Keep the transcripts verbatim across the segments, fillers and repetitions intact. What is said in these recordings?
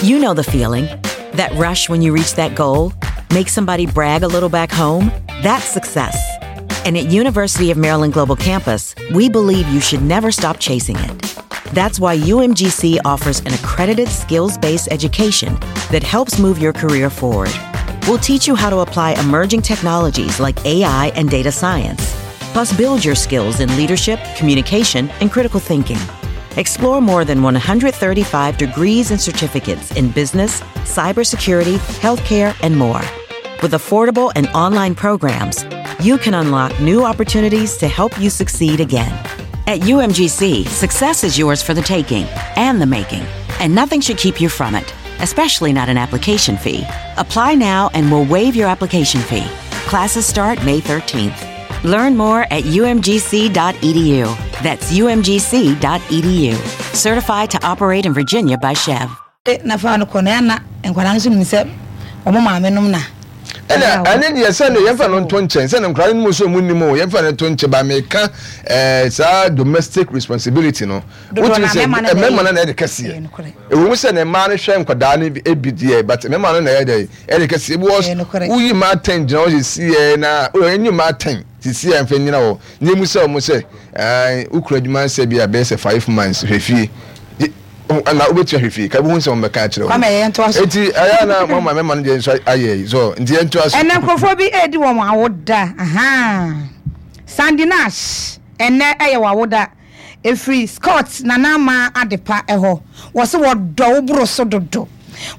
You know the feeling. That rush when you reach that goal, make somebody brag a little back home, that's success. And at University of Maryland Global Campus, we believe you should never stop chasing it. That's why U M G C offers an accredited skills-based education that helps move your career forward. We'll teach you how to apply emerging technologies like A I and data science, plus build your skills in leadership, communication, and critical thinking. Explore more than one hundred thirty-five degrees and certificates in business, cybersecurity, healthcare, and more. With affordable and online programs, you can unlock new opportunities to help you succeed again. At U M G C, success is yours for the taking and the making, and nothing should keep you from it, especially not an application fee. Apply now and we'll waive your application fee. Classes start May thirteenth. Learn more at U M G C dot E D U. That's U M G C dot E D U. Certified to operate in Virginia by C H E V. Na fa no kɔ na nkwadaa nso nim sɛ ɔmo maame nom na. Ɛna ɛne deɛ sɛ no yɛmfa no nto nkyɛn sɛ no nkwadaa no mu so mu nim o yɛmfa no nto nkyɛn ba meka ɛɛ saa domestic responsibility no. Wotumi sɛ mmarima no na ɛde kɛseɛ. Ɛwɔ mu sɛ ne mmaa no hwɛ nkwadaa no ebi deɛ but mmarima no na ɛyɛ ɛde kɛseɛ because woyi mmaa ten gyina hɔ sisi yɛ na ɛnyi mmaa ten sisi yɛ mfɛn nyina hɔ ne mu sɛ ɔmo sɛ ɛɛ wokura adwuma nsɛ bi a bɛyɛ sɛ five months hwɛ fie. Na wobɛtua hwɛ fie ka bi hu sɛ wɔmmɛka akyerɛ wo enti ɛyɛ na mama mɛma no deɛ nso ayɛ yi so nti yɛntoa so. Ɛnɛ nkurɔfoɔ bi ɛredi wɔn awoda. Aha. Sandy Nash ɛnɛ ɛyɛ w'awoda. Ɛfiri Scott Nana Ama Adepa ɛhɔ. Wɔse wɔdɔ wo boro so dodo.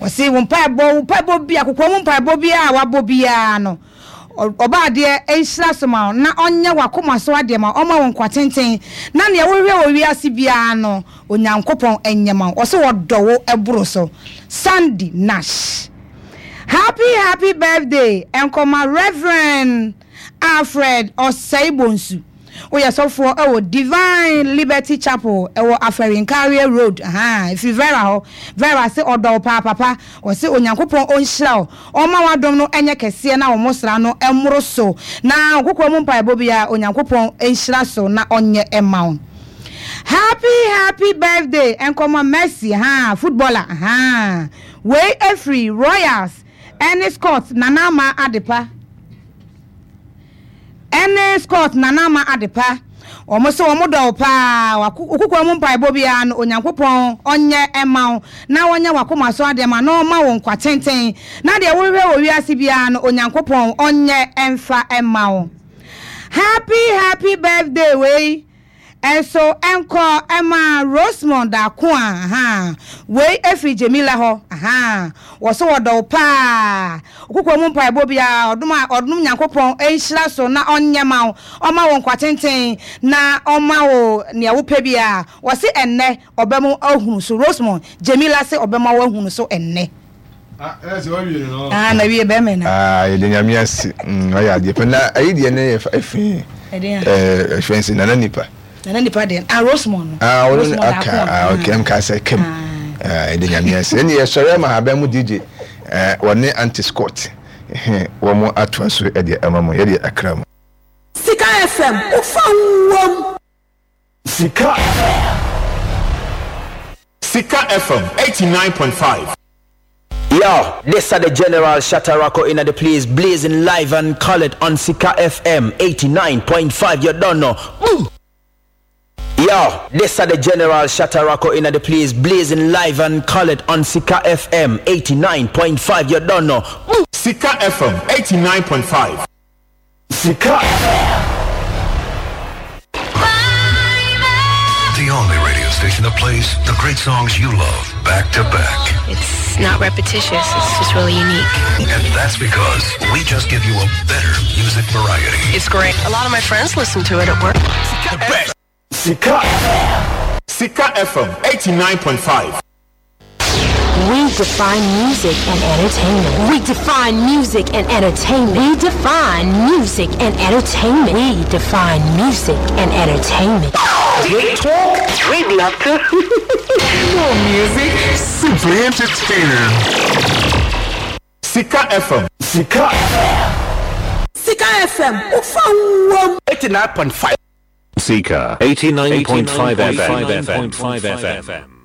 Wɔse wo mpaebɔ wo mpaebɔ bi akokoɔ mu mpaebɔ bi a wabɔ biara no ɔba adeɛ nhyira so ma wo na ɔnyɛ w'akoma so adeɛ ma ɔma wo nkwa tenten na nea wohwehwɛ wɔ wiase biara no Onyankopɔn ɛnyɛ ma wo. Wɔse wɔdɔ wo ɛboro so. Sandy Nash. Happy happy birthday ɛnkɔma Reverend Alfred Osei Bonsu. Woyɛ sɔfoɔ ɛwɔ Divine Liberty Chapel ɛwɔ Afɛrinkaria Road. Aha, ɛfiri Vera hɔ. Vera se ɔdɔ wo paa papa. Ɔse Onyankopɔn ɔnhyira wo. Ɔma w'adom no ɛnyɛ kɛseɛ na wo mmosra no ɛmmoro so. Na kokoa mu mpaebɔ biara Onyankopɔn nhyira so na ɔnyɛ ɛma wo. Happy happy birthday ɛnkɔma Mercy ha footballer ha. Wei ɛfiri Royals ɛne Scott Nana Ama Adepa. Ɛne Scott Nana Ama Adepa. Ɔmo sɛ ɔmo dɔ wo paa. Kokoa mu mpaebɔ biara no Onyankopɔn ɔnyɛ ɛma wo na ɔnyɛ w'akoma so adeɛ ma na ɔma wo nkwa tenten na deɛ wohwehwɛ wɔ wiase biara no Onyankopɔn ɔnyɛ ɛmfa ɛma wo. Happy happy birthday wei ɛnso ɛnkɔ ɛma Rosemond Akoa ha. Wei ɛfiri Jamila hɔ aha. Wɔso wɔdɔ wo paa. Kokoa mu mpaebɔ biara ɔdom a ɔdom Nyankopɔn ɛnhyira so na ɔnyɛ ma wo. Ɔma wo nkwa tenten na ɔma wo nea wopɛ biara. Wɔse ɛnnɛ ɔbɛmo ahunu so. Rosemond Jamila se ɔbɛma wo ahunu so ɛnnɛ. Ah, ɛsɛ wawie no. Ah, na wie bɛmɛ na. Ah, yɛde Nyame ase. Mm, ɔyɛ adeɛ pɛ na ayi deɛ ne yɛ ɛfin. Ɛɛ, ɛfin sɛ nana nipa. Nana nipa deɛ, ah, Rosemond no. Ah, ɔno aka, ah, okay, ɛm ka sɛ kɛm. Ah, yɛde Nyame ase. Ɛne yɛsɔre ama aban mu D J. Eh, wɔne Auntie Scott. Wɔn mo atoa so ɛdeɛ ɛma mo, yɛde akra mu. Sika F M, wofa wom. Sika F M. Sika F M eighty-nine point five. Yo, this are the General Shatarako in the place, blazing live and colored on Sika F M eighty-nine point five. You don't know. Boom. Yo, this are the General Shatarako in the place, blazing live and colored on Sika F M eighty-nine point five. You don't know. Boom. Sika F M eighty-nine point five. Sika F M. The only radio station that plays the great songs you love back to back. It's not repetitious, it's just really unique. And that's because we just give you a better music variety. It's great. A lot of my friends listen to it at work. The best. Sika F M. Sika F M eighty-nine point five. We define music and entertainment. We define music and entertainment. We define music and entertainment. We define music and entertainment. Great talk. We'd love to. More music. Simply entertaining. Sika F M. Sika F M. Sika F M. Ufa eighty-nine point five. Sika eighty-nine point five F M.